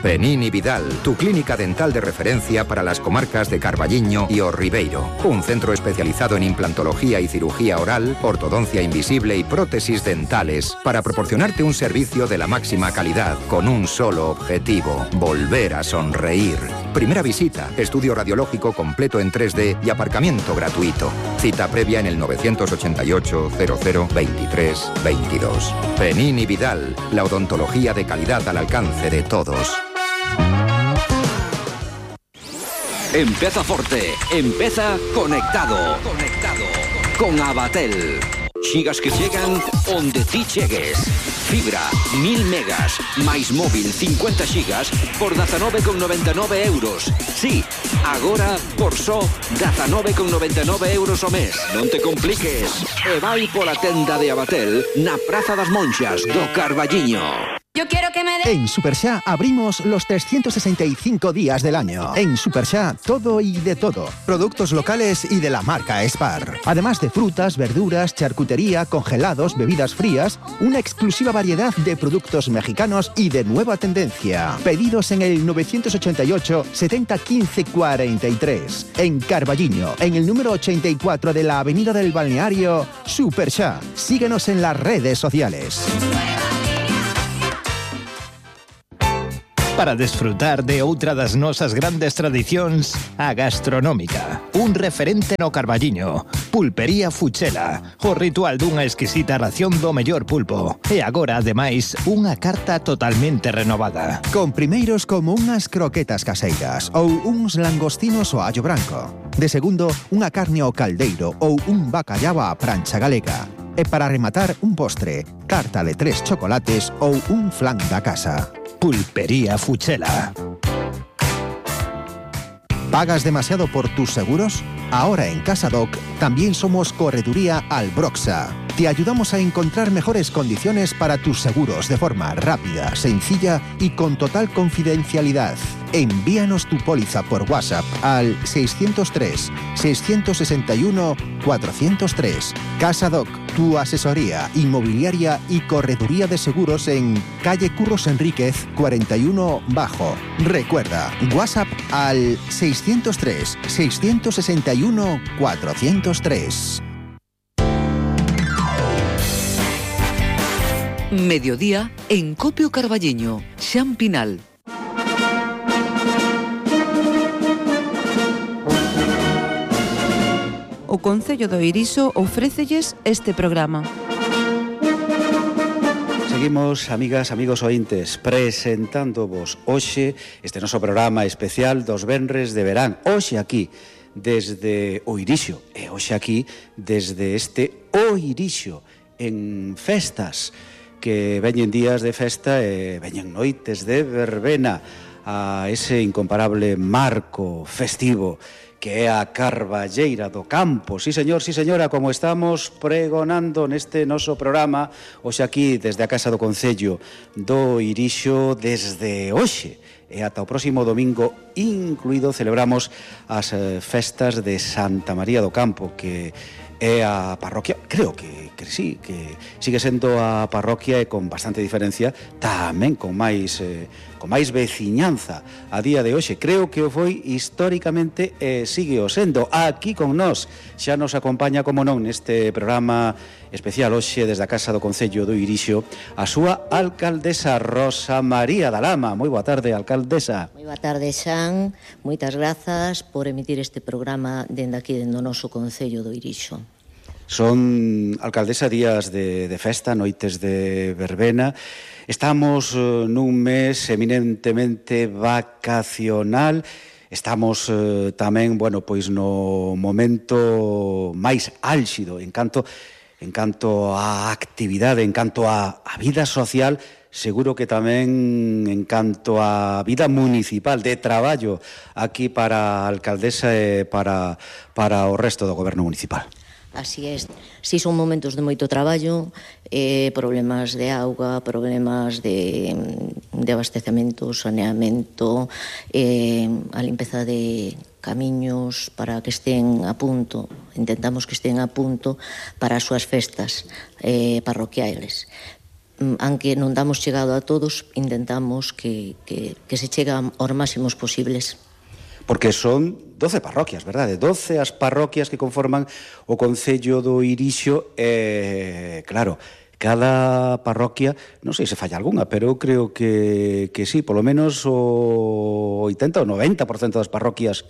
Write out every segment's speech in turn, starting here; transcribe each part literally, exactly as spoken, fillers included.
Penini Vidal, tu clínica dental de referencia para las comarcas de Carballiño y O Ribeiro. Un centro especializado en implantología y cirugía oral, ortodoncia invisible y prótesis dentales para proporcionarte un servicio de la máxima calidad con un solo objetivo: volver a sonreír. Primera visita, estudio radiológico completo en tres D y aparcamiento gratuito. Cita previa en el nueve ocho ocho, cero cero, veintitrés, veintidós. Penini Vidal, la odontología de calidad al alcance de todos. Empeza forte, empeza conectado. Conectado con Abatel. Xigas que chegan onde ti chegues. Fibra, mil megas, máis móvil, cincuenta xigas, por dezanove con noventa e nove euros. Sí, agora por só dezanove con noventa e nove euros ao mes. Non te compliques. E vai pola tenda de Abatel na Praza das Monxas do Carballiño. Yo quiero que me de... En Superxa abrimos los trescientos sesenta y cinco días del año. En Superxa, todo y de todo. Productos locales y de la marca Spar. Además de frutas, verduras, charcutería, congelados, bebidas frías, una exclusiva variedad de productos mexicanos y de nueva tendencia. Pedidos en el nueve ocho ocho, setenta, quince, cuarenta y tres. En Carballiño, en el número ochenta y cuatro de la Avenida del Balneario, Superxa. Síguenos en las redes sociales. Para desfrutar de outra das nosas grandes tradicións, a gastronómica. Un referente no Carballiño. Pulpería Fuchela. O ritual dunha exquisita ración do mellor pulpo. E agora, ademais, unha carta totalmente renovada. Con primeiros como unhas croquetas caseiras ou uns langostinos ao allo branco. De segundo, unha carne ao caldeiro ou un bacallao á prancha galega. E para rematar, un postre, carta de tres chocolates ou un flan da casa. Pulpería Fuchela. ¿Pagas demasiado por tus seguros? Ahora en CasaDoc también somos Correduría Albroxa. Te ayudamos a encontrar mejores condiciones para tus seguros de forma rápida, sencilla y con total confidencialidad. Envíanos tu póliza por WhatsApp al seiscientos tres, seiscientos sesenta y uno, cuatrocientos tres. CasaDoc, tu asesoría inmobiliaria y correduría de seguros en calle Curros Enríquez cuarenta y uno Bajo. Recuerda, WhatsApp al seiscientos tres, seiscientos sesenta y uno, cuatrocientos tres. Mediodía en Copio Carballiño, Xan Pinal. O Concello do Eirixo ofrécelles este programa. Seguimos, amigas, amigos ointes, presentándovos hoxe este noso programa especial dos venres de verán. Hoxe aquí, desde o Eirixo, e hoxe aquí, desde este O Eirixo, en festas, que veñen días de festa e veñen noites de verbena a ese incomparable marco festivo que é a Carballeira do Campo. Sí, señor, sí, señora, como estamos pregonando neste noso programa hoxe aquí desde a Casa do Concello do Eirixo desde hoxe e ata o próximo domingo incluído celebramos as festas de Santa María do Campo, que é a parroquia, creo que, que sí, que sigue sendo a parroquia e con bastante diferencia, tamén con máis eh, con máis veciñanza a día de hoxe. Creo que o foi históricamente e sigue o sendo. Aquí con nós xa nos acompaña, como non, neste programa especial hoxe desde a Casa do Concello do Eirixo, a súa alcaldesa Rosa María da Lama. Moi boa tarde, alcaldesa. Moi boa tarde, Xan. Moitas grazas por emitir este programa dende aquí, dende o noso Concello do Eirixo. Son, alcaldesa, días de, de festa, noites de verbena. Estamos uh, nun mes eminentemente vacacional. Estamos uh, tamén, bueno, pois no momento máis álxido en canto, en canto á actividade, en canto á, á vida social, seguro que tamén en canto á vida municipal de traballo aquí para a alcaldesa e para, para o resto do goberno municipal. Así é, si son momentos de moito traballo, eh, problemas de auga, problemas de, de abastecemento, saneamento, eh, a limpeza de camiños para que estén a punto, intentamos que estén a punto para as súas festas eh, parroquiales. aunque non damos chegado a todos, intentamos que, que, que se chegan aos máximos posibles. Porque son doce parroquias, verdade? doce as parroquias que conforman o concello do Irixo e, claro, cada parroquia, non sei se falla algunha, pero eu creo que, que sí, polo menos o oitenta ou noventa por cento das parroquias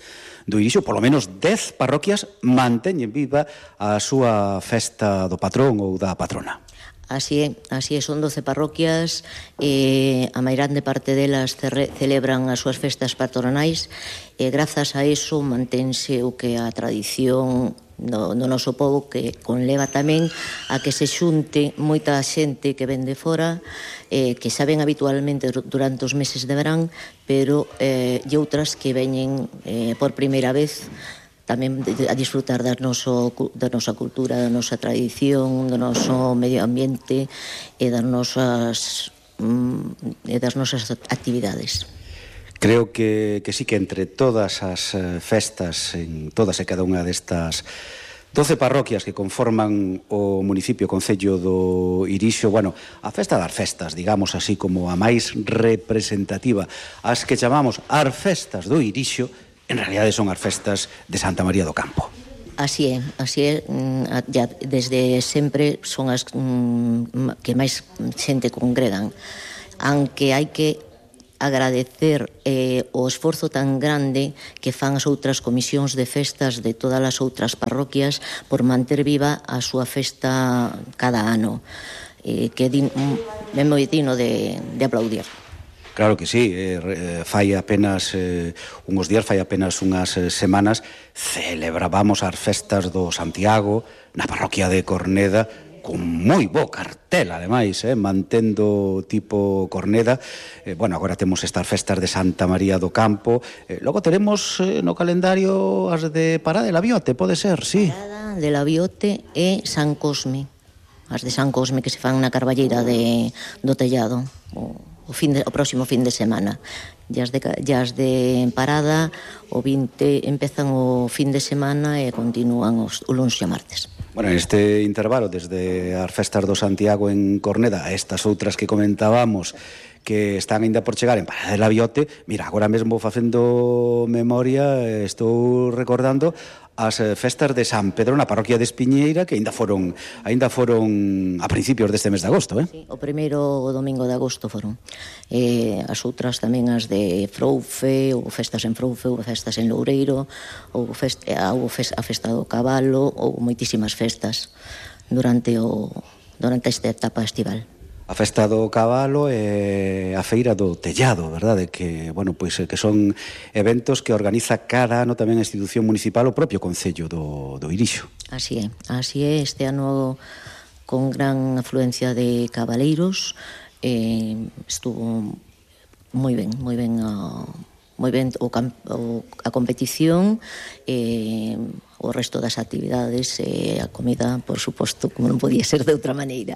do Irixo, polo menos dez parroquias manteñen viva a súa festa do patrón ou da patrona. Así é, así é, son doce parroquias, e a mairande parte delas celebran as súas festas patronais, e grazas a eso mantense o que a tradición do, do noso povo, que conleva tamén a que se xunte moita xente que ven de fora, eh, que xa ven habitualmente durante os meses de verán, pero eh, e outras que veñen eh, por primeira vez tamén a disfrutar da, noso, da nosa cultura, da nosa tradición, do noso medio ambiente e das nosas, mm, e das nosas actividades. Creo que, que sí que entre todas as festas, en todas e cada unha destas doce parroquias que conforman o municipio concello do Irixo, bueno, a festa das festas, digamos así como a máis representativa, as que chamamos as festas do Irixo, en realidade son as festas de Santa María do Campo. Así é, así é, ya desde sempre son as que máis xente congregan, aunque hai que agradecer eh, o esforzo tan grande que fan as outras comisións de festas de todas as outras parroquias por manter viva a súa festa cada ano, eh, que é moi digno de, de aplaudir. Claro que sí, eh, fai apenas eh, unhos días, fai apenas unhas eh, semanas celebrábamos as festas do Santiago na parroquia de Corneda con moi bo cartel, ademais, eh, mantendo tipo Corneda. Eh, bueno, agora temos estas festas de Santa María do Campo, eh, logo teremos eh, no calendario as de Parada de la Biote, pode ser, sí. Parada de la Biote e San Cosme, as de San Cosme que se fan na Carballeira de, do Tellado, o O, fin de, o próximo fin de semana. E as de, as de Parada o vinte empezan o fin de semana e continúan os, o luns e o martes. Bueno, este intervalo desde as festas do Santiago en Corneda a estas outras que comentábamos que están ainda por chegar en Parada de la Biote, mira, agora mesmo facendo memoria, estou recordando as festas de San Pedro na parroquia de Espiñeira, que ainda foron ainda foron a principios deste mes de agosto, eh? Sí, o primeiro domingo de agosto foron. Eh, as outras tamén as de Froufe, ou festas en Froufe, ou festas en Loureiro, ou fest, ou fest, a festa do Cabalo, ou moitísimas festas durante o durante esta etapa estival. A festa do Cabalo e a feira do Tellado, verdade? Que, bueno, pois que son eventos que organiza cada ano tamén a institución municipal, o propio concello do, do Irixo. Así é, así é, este ano con gran afluencia de cabaleiros, eh, estuvo moi ben, moi ben a, moi ben o, o, a competición, eh, o resto das actividades e a comida, por suposto, como non podía ser de outra maneira.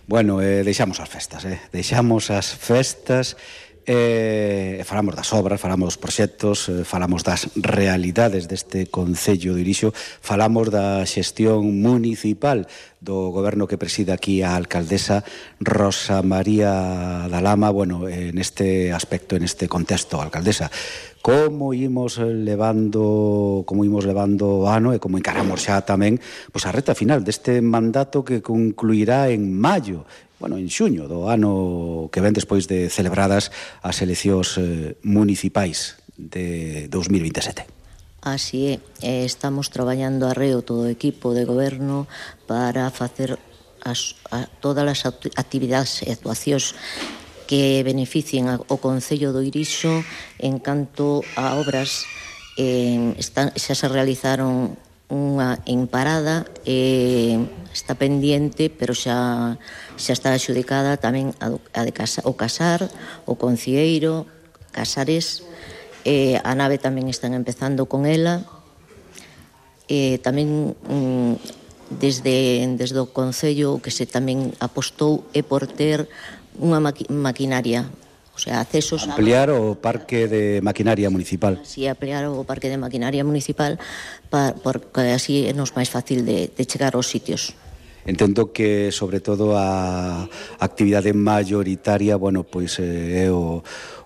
Bueno, eh, deixamos as festas, eh? deixamos as festas, eh, falamos das obras, falamos dos proxectos, eh, falamos das realidades deste concello de Irixo, falamos da xestión municipal do goberno que preside aquí a alcaldesa Rosa María da Lama. Bueno, eh, neste aspecto, en este contexto, alcaldesa, como imos levando como imos levando o ano e como encaramos xa tamén pois a reta final deste mandato que concluirá en maio, bueno, en xuño do ano que ven despois de celebradas as eleccións eh, municipais de dous mil vinte e sete. Así é, estamos traballando arreo todo o equipo de goberno para facer as, a, todas as actividades e actuacións que beneficien o concello do Irixo. En canto a obras, eh, están, xa se realizaron unha en Parada, eh, está pendiente, pero xa, xa está adxudicada tamén a, a de casa, o Casar, o Concieiro, Casares, eh, a nave tamén están empezando con ela, eh, tamén mm, desde, desde o concello que se tamén apostou é por ter unha maqui maquinaria, o sea, accesos ampliar a... o parque de maquinaria municipal. Si, sí, ampliar o parque de maquinaria municipal para, porque así é nos máis fácil de, de chegar aos sitios. entendo que sobre todo a actividade mayoritaria, bueno, pois é o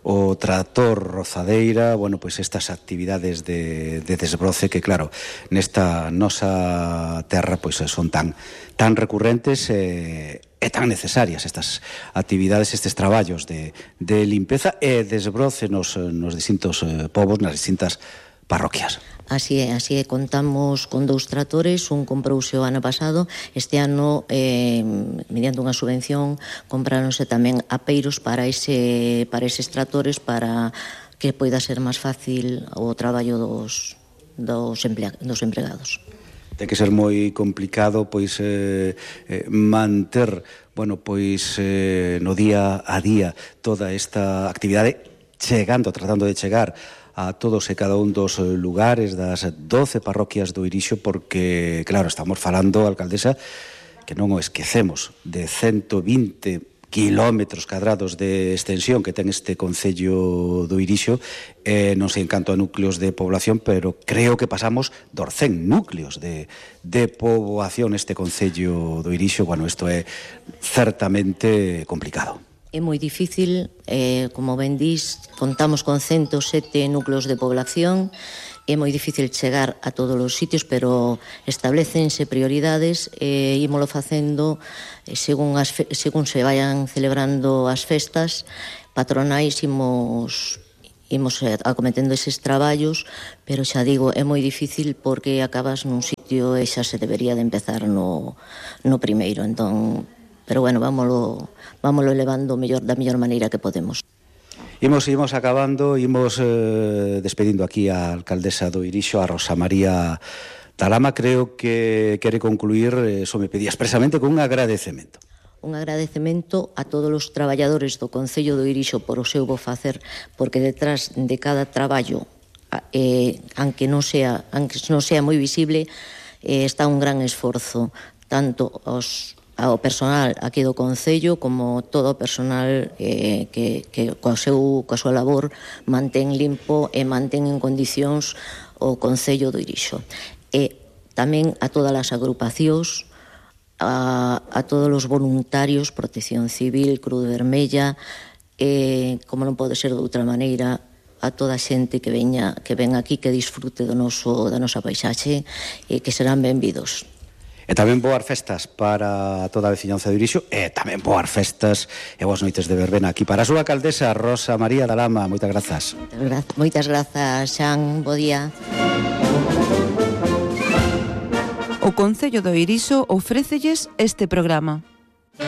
o trator rozadeira, bueno, pois estas actividades de, de desbroce que, claro, nesta nosa terra pois son tan tan recurrentes e, e tan necesarias estas actividades, estes traballos de, de limpeza e desbroce nos, nos distintos eh, povos, nas distintas parroquias. Así é, así é, contamos con dous tratores, un comprouse o ano pasado, este ano, eh, mediante unha subvención, compráronse tamén apeiros para, ese, para eses tratores para que poida ser máis fácil o traballo dos, dos, emplea, dos empregados. Ten que ser moi complicado pois eh, eh, manter, bueno, pois eh, no día a día toda esta actividade chegando, tratando de chegar a todos e cada un dos lugares das doce parroquias do Irixo, porque, claro, estamos falando, alcaldesa, que non o esquecemos, de ciento vinte kilómetros cadrados de extensión que ten este concello do Irixo, eh, non sei en canto a núcleos de población, pero creo que pasamos dos cen núcleos de, de poboación este concello do Irixo. Bueno, isto é certamente complicado. É moi difícil, eh, como ben dís, contamos con ciento sete núcleos de población, é moi difícil chegar a todos os sitios, pero establecense prioridades e eh, ímolo facendo eh, según, as fe, según se vayan celebrando as festas patronais, imos, imos eh, acometendo eses traballos, pero xa digo, é moi difícil porque acabas nun sitio e xa se debería de empezar no, no primeiro, entón... Pero bueno, vámolo, vámolo elevando mellor, da mellor maneira que podemos. Imos, imos acabando, imos eh, despedindo aquí a alcaldesa do Irixo, a Rosa María Dalama. Creo que quere concluir, eso me pedía expresamente, con un agradecemento. Un agradecemento a todos os traballadores do Concello do Irixo por o seu bo facer, porque detrás de cada traballo, eh, aunque non sea, aunque non sea moi visible, eh, está un gran esforzo, tanto os ao personal aquí do Concello como todo o personal eh, que, que coa, seu, coa súa labor mantén limpo e mantén en condicións o Concello do Irixo. E tamén a todas as agrupacións, a, a todos os voluntarios, Protección Civil, Cruz Vermella, e, como non pode ser de outra maneira, a toda a xente que veña, que ven aquí, que disfrute do noso, da nosa paisaxe e que serán benvidos. E tamén boas festas para toda a veciñanza do Irixo e tamén boas festas e boas noites de verbena aquí para a súa alcaldesa Rosa María Dalama. Moitas grazas. Moitas grazas, Xan. Bo día. O Concello do Irixo ofrécelles este programa.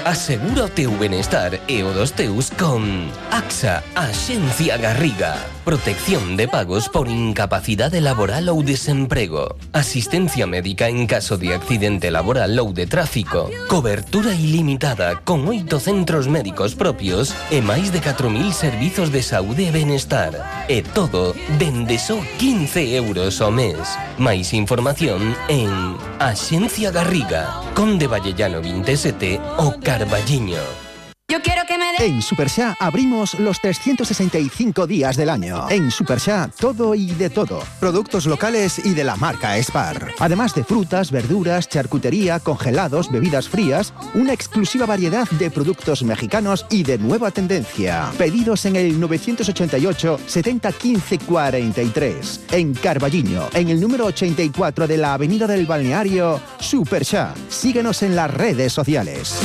Asegura o teu benestar e o dos teus con AXA, Axencia Garriga. Protección de pagos por incapacidade laboral ou desemprego. Asistencia médica en caso de accidente laboral ou de tráfico. Cobertura ilimitada con oito centros médicos propios e máis de catro mil servizos de saúde e benestar. E todo dende só quince euros ao mes. Máis información en Axencia Garriga, Conde Vallellano veintisiete o Carballiño. Yo quiero que me de... En Superxá abrimos los trescientos sesenta y cinco días del año. En Superxá, todo y de todo. Productos locales y de la marca Spar. Además de frutas, verduras, charcutería, congelados, bebidas frías, una exclusiva variedad de productos mexicanos y de nueva tendencia. Pedidos en el novecientos ochenta y ocho, setenta, quince, cuarenta y tres. En Carballiño, en el número ochenta y cuatro de la Avenida del Balneario, Superxá. Síguenos en las redes sociales.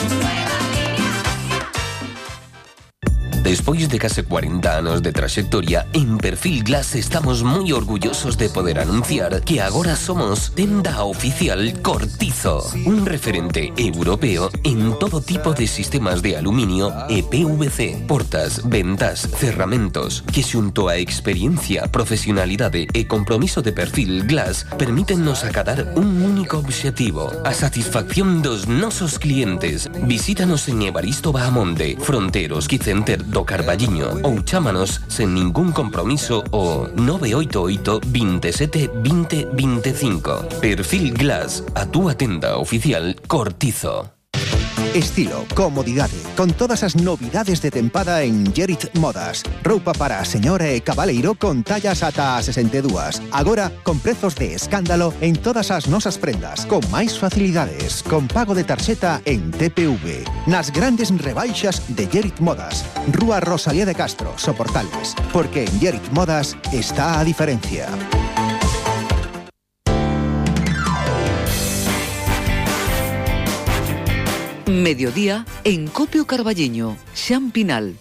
Despois de case cuarenta anos de traxectoria, en Perfil Glass estamos moi orgullosos de poder anunciar que agora somos tenda oficial Cortizo, un referente europeo en todo tipo de sistemas de aluminio e P V C, portas, ventas, cerramentos, que xunto a experiencia, profesionalidade e compromiso de Perfil Glass permítennos acadar un único obxectivo, a satisfacción dos nosos clientes. Visítanos en Evaristo Bahamonde, Fronteros Quicenter do Carballiño ou chámanos sen ningún compromiso o nove oito oito, veintisiete, veinte, veinticinco. Perfil Glass, a túa tenda oficial Cortizo. Estilo, comodidade, con todas as novidades de tempada en Gerit Modas. Roupa para a señora e cabaleiro con tallas ata a sesenta e dúas. Agora, con prezos de escándalo en todas as nosas prendas, con máis facilidades, con pago de tarxeta en T P V. Nas grandes rebaixas de Gerit Modas. Rúa Rosalía de Castro, Soportales. Porque en Gerit Modas está a diferencia. Mediodía en Copio Carballiño, Xan Pinal.